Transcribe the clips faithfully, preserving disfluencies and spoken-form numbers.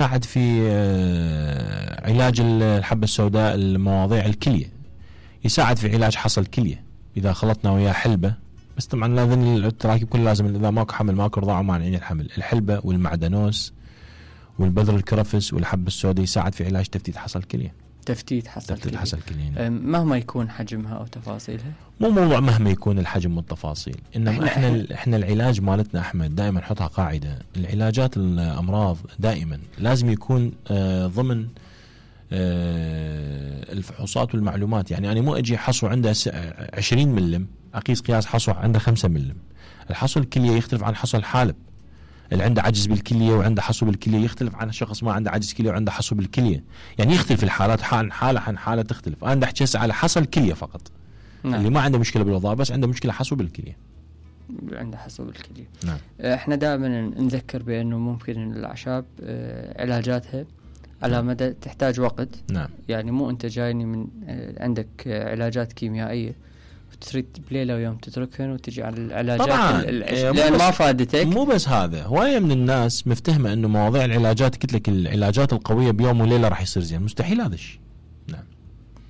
يساعد في علاج الحبة السوداء المواضيع الكلية، يساعد في علاج حصى الكلية إذا خلطنا وياه حلبة. بس طبعا لازم التراكيب كلها لازم، إذا ماكو حمل ماكو رضاعة ومانعين الحمل، الحلبة والمعدنوس والبذر الكرفس والحبة السوداء يساعد في علاج تفتيت حصى الكلية. تفتيت حصى تفتيت حصى الكلية مهما يكون حجمها أو تفاصيلها. مو موضوع مهما يكون الحجم والتفاصيل، إنما إحنا إحنا, إحنا العلاج مالتنا أحمد دائما نحطها قاعدة، العلاجات الأمراض دائما لازم يكون آه ضمن آه الفحوصات والمعلومات. يعني أنا مو أجي حصو عنده عشرين ملم أقيس قياس حصو عنده خمسة ملم. الحصو الكلية يختلف عن حصو الحالب. اللي عنده عجز بالكلية وعنده حصو بالكلية يختلف عن شخص ما عنده عجز كلية وعنده حصو بالكلية. يعني يختلف الحالات، حال حالة عن حالة تختلف. أنا أحكي هسه على حصو الكلية فقط. نعم. اللي ما عنده مشكلة بالوظائف بس عنده مشكلة حصو بالكلية. عنده حصو بالكلية. نعم. احنا دائما نذكر بأنه ممكن الأعشاب علاجاتها على مدى تحتاج وقت. نعم. يعني مو أنت جايني من عندك علاجات كيميائية تريد بليلة ويوم تتركهن وتجي على العلاجات لأن ما فادتك. مو بس هذا، هواية من الناس مفتهمة انه مواضيع العلاجات، قلت لك العلاجات القوية بيوم وليلة راح يصير زين. مستحيل هذا الشيء. نعم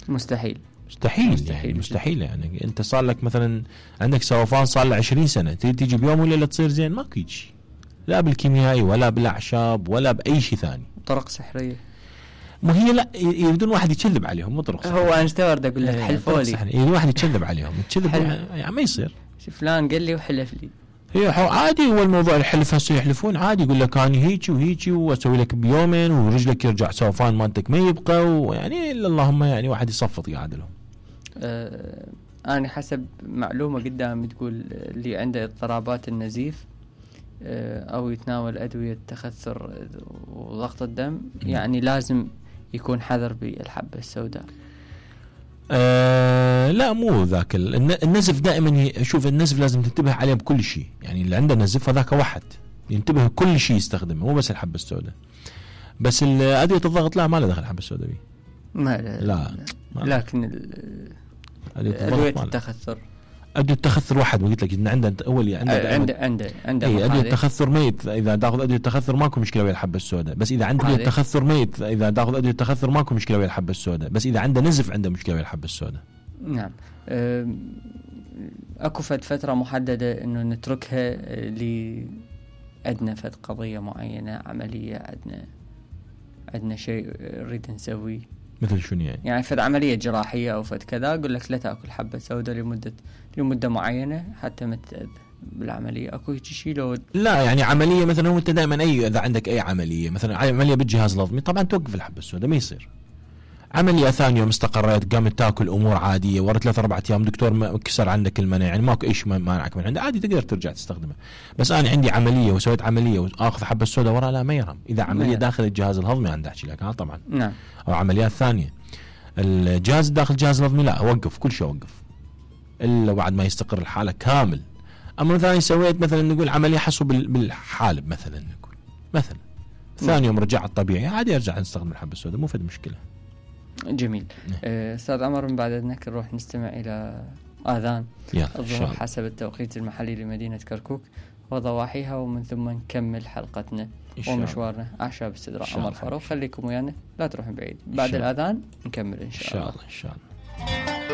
مستحيل مستحيل مستحيل يعني, مستحيل يعني انت صار لك مثلا عندك سوفان صار له عشرين سنة تيجي تيجي بيوم وليلة تصير زين؟ ماكو شيء، لا بالكيميائي ولا بالاعشاب ولا باي شيء ثاني. طرق سحرية مو هي، لا يريدون واحد يكذب عليهم، مو طرق هو انا استورد اقول لك حلفولي، يريدون واحد يكذب عليهم، يكذب يعني ما يصير. فلان قال لي وحلف لي. هي عادي، هو الموضوع الحلف هسه يحلفون عادي، يقول لك انا هيجي وهيجي واسوي لك بيومين ورجلك يرجع سوفان مالتك ما يبقى، ويعني اللهم يعني واحد يصفط قاعد لهم. أه انا حسب معلومه قدامي تقول اللي عنده اضطرابات النزيف أه او يتناول ادويه تخثر وضغط الدم م. يعني لازم يكون حذر بالحبة السوداء. أه لا مو ذاك النزف، دائما شوف النزف لازم تنتبه عليه بكل شيء. يعني اللي عنده نزف هذاك واحد ينتبه كل شيء يستخدمه، مو بس الحبة السوداء. بس أدوية الضغط لا ما له دخل الحبة السوداء بيه. ما لا, لا. ما لكن أدوية التخثر أدوية التخثر واحد، وقلت لك إن عنده أول عنده عنده عنده عنده أي أدوية التخثر ميت. إذا تأخذ أدوية التخثر ماكو مشكلة ويا الحبة السوداء، بس إذا عنده أدوية التخثر ميت إذا تأخذ أدوية التخثر ماكو مشكلة ويا الحبة السوداء، بس إذا عنده نزف عنده مشكلة ويا الحبة السوداء. نعم. أكو فد فترة محددة إنه نتركها لأدنى فد قضية معينة، عملية عندنا عندنا شيء نريد نسويه مثل شنو يعني؟ يعني فد عملية جراحية أو فد كذا، أقول لك لا تأكل حبة سوداء لمدة لمدة معينة حتى ما تتأذى بالعملية. أكو شيء لو لا يعني عملية مثلا أنت دائما أي إذا عندك أي عملية مثلا عملية بالجهاز الهضمي طبعا توقف الحبة السوداء ما يصير. عملية ثانية استقريت قامت تاكل أمور عادية ورا ثلاثة أربعة أيام دكتور ما كسر عندك المناعة يعني ماكو إيش مانعك من عنده عادي تقدر ترجع تستخدمه. بس أنا عندي عملية وسويت عملية وآخذ حبة السوداء ورا لا ما يرهم. إذا عملية داخل الجهاز الهضمي أنا أحكي لك ها طبعا. نعم. أو عمليات ثانية الجهاز داخل الجهاز الهضمي لا أوقف كل شيء أوقف إلا بعد ما يستقر الحالة كامل. أما مثلا سويت مثلا نقول عملية حصو بالحالب مثلا نقول مثلا ثاني يوم رجع الطبيعي عادي أرجع نستخدم الحبة السوداء مو فد مشكلة. جميل. أستاذ عمر من بعد إذنك نروح نستمع إلى آذان الظهر حسب التوقيت المحلي لمدينة كركوك وضواحيها، ومن ثم نكمل حلقتنا ومشوارنا أعشاب استدراء عمر فاروق. خليكم ويانا لا تروحون بعيد، بعد الآذان نكمل إن شاء الله. إن شاء الله.